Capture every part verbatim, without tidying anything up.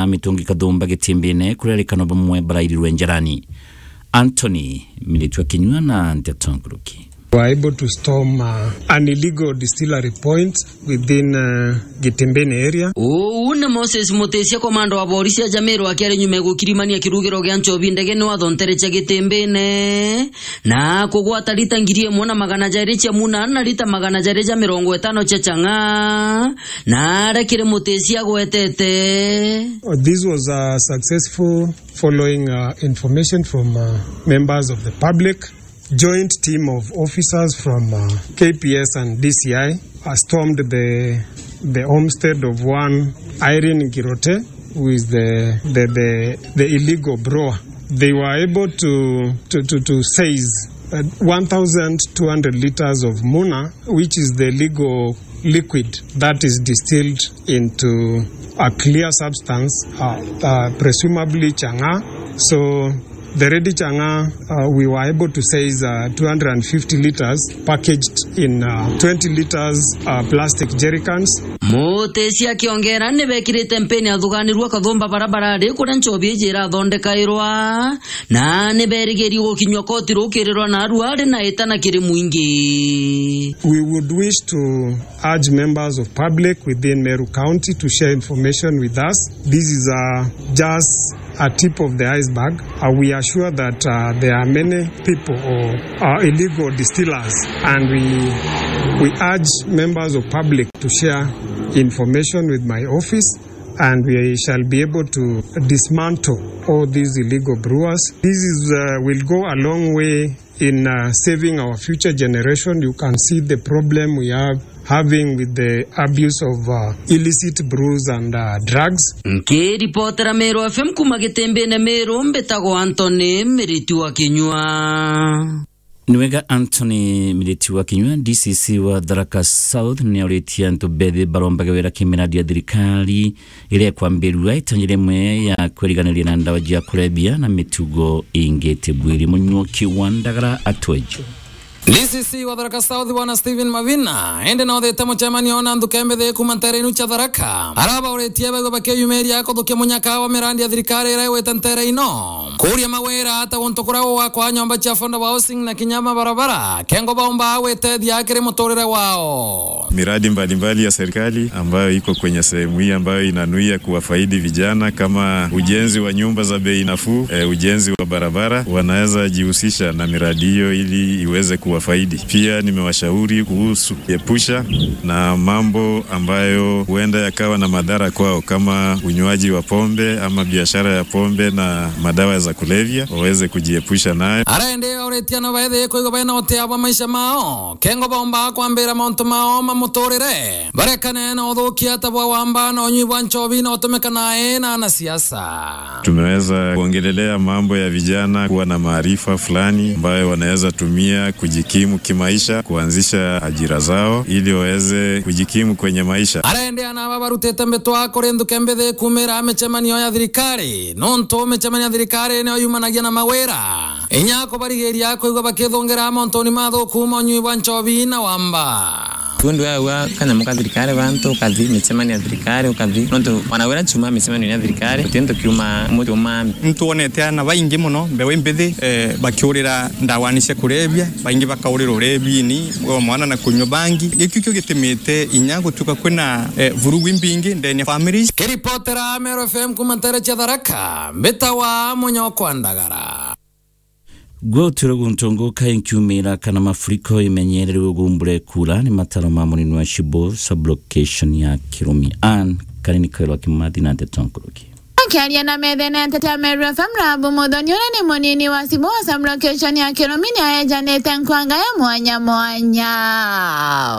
mitungi kathumba Gitimbine, kuria arikano bamwe barairirwe njarani. Anthony Miritwa Kinyua na Nteto Nkuruki. Were able to storm, uh, an illegal distillery point within, uh, Gitimbine area. Uu ni Moses Mutesia, komanda wa borisi ya Jamiru, akiari nyuma ya gukirimania kirugiro gia nchobi ndege ni wathontere cia Gitimbine, na kugwata lita ngiri imwe na magana jairi cia muna na lita magana jairi ja mirongo itano cia chang'aa, na aria kiri Mutesia agwetete. This was, uh, successful following, uh, information from, uh, members of the public. Joint team of officers from, uh, K P S and D C I, uh, stormed the, the homestead of one Irene Girote, who is the, the, the, the illegal brewer. They were able to, to, to, to seize, uh, one thousand two hundred liters of muna, which is the legal liquid that is distilled into a clear substance, uh, uh, presumably chang'aa. So the ready chang'aa, uh, we were able to seize, uh, two hundred and fifty liters packaged in, uh, twenty liters, uh, plastic jerrycans. Mutesia akiongera, ni bekirite mpeni athuganirua kathumba barabarari kuria nchobi iji irathondekairwa, na ni berigiri gukinywa koti rukirirwa narua ari na itana kiri mwingi. We would wish to urge members of public within Meru County to share information with us. This is, uh, just a tip of the iceberg. Uh, we are sure that, uh, there are many people or, uh, illegal distillers, and we, we urge members of public to share information with my office, and we shall be able to dismantle all these illegal brewers. This is, uh, will go a long way in, uh, saving our future generation. You can see the problem we are having with the abuse of, uh, illicit brews and, uh, drugs. Nkiripotera Meru F M kuma Gitimbine Meru, mbitagwa Anthony Miriti wa Kinyua. Ni wega, Anthony Miriti wa Kinyua. D C C wa Tharaka South ni auritie antu bethi barombage wira kimiradi ya thirikari iria ikwambirua itanya rimwe ya kwiriganiria na ndawa cia kurebia na mitugo ingi tibwiri. Munyuki wa ndagara atweje. D C C wa Tharaka South, Bwana Stephen Mavina, indi na uthite mucemanio na nthuke mbithi kuma ntere inu cia Tharaka, arabauritie baigwe bakiyumiria kuthukia munyaka wa mirandi ya thirikari iria igwite ntere ino, kuria mawira ta guntu kuria gugwakwa nyomba cia affordable housing na kinya mabarabara, kengo baumba gwitethia kiri muturire wao. Miradi mbalimbali ya serikali ambayo iko kwenye sehemu hii ambayo inanuia kuwafaidi vijana kama ujenzi wa nyumba za bei nafuu, eh, ujenzi wa barabara, wanaweza jihusisha na miradi hiyo ili iweze kuwafaidi. Pia nimewashauri kuhusu kujiepusha na mambo ambayo huenda yakawa na madhara kwao kama unywaji wa pombe ama biashara ya pombe na madawa za kulevya, waweze kujiepusha nayo. Arende auritie no baithie kuigwa baina utia bwa maisha mao. Kengo baumba kwambira mauntu mao ma muturire, barekane na uthukia ta bwa wamba na unywi bwa nchobi na utumika nae na anasiasa. Tumeweza kuongelelea mambo ya vijana kuwa na maarifa fulani ambayo wanaweza tumia kujikimu kimaisha, kuanzisha ajira zao ili waweze kujikimu kwenye maisha. Arende ana aba barutite mbitwa kuri nthuke mbithi kumira micemanio ya thirikari, nontu micemanio ya thirikari niyo yumanagia na mawira. Inya kubarigiria kwigua bakithungira mauntuni mathuku ma unyui bwa nchobi na wamba. Tundu ya ua kanyamu ka thirikari, bantu ukathi micemanio ya thirikari, ukathi nontu mwana wira chuma micemanio ya thirikari, uti ntu kiuma muti umami. Ntwonete ana baingi muno, mbewe mbithi, eh, bakiurira ndawani cia kurebia, baingi bakaurira urebini, wa mwana na kunywa bangi. Gikio kio gitimite inya gutuka kwina, eh, vurugu imbingi ndeni ya families. Kiripotera Meru F M kuma ntere cia Tharaka, mbitawa Munyokwa Ndagara. Gwe utwire guntu nguka inkiumira kana mafuriko imenyererwe gumbure kura ni mataro ma munini wa Cibo sub-location ya Kirumi. Ann Karini Kairwa Kimathi na ndeto nkuruki. Akiaria na methene ya nteto ya Meru F M, Rahabu Muthoni, uria ni munini wa Cibo sub-location ya Kirumi, ni aejanite nkwanga ya mwanya mwanya.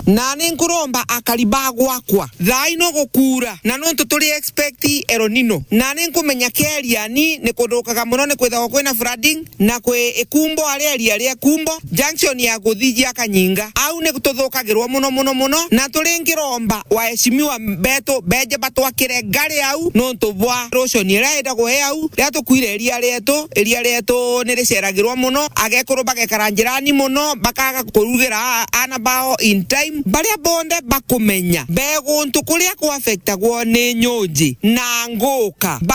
Na ni nkuromba akari ba gwakwa, thaa ino gukuura, na nontu turi expect El Nino. Na ni nkumenya kia Iriani ni kuthukaga muno, ni kwithagwa kwina flooding, na kwi Ikumbo, aria iria ria Ikumbo, junction ya kuthijia Kanyinga. Au ni tuthukagirwa muno, muno, muno, na turi nkiromba waheshimiwa betu beje batwakire ngari au, nontu bwa erosion iria itagwa i au, riria tukwire iria rietu, iria rietu ni riceragirwa muno, agekuru bagekara njirani muno, bakaga kurugira ana bao in time. Baria bonthe bakumenya be guntu kuria ku affectagwo ni nyunji na nguka,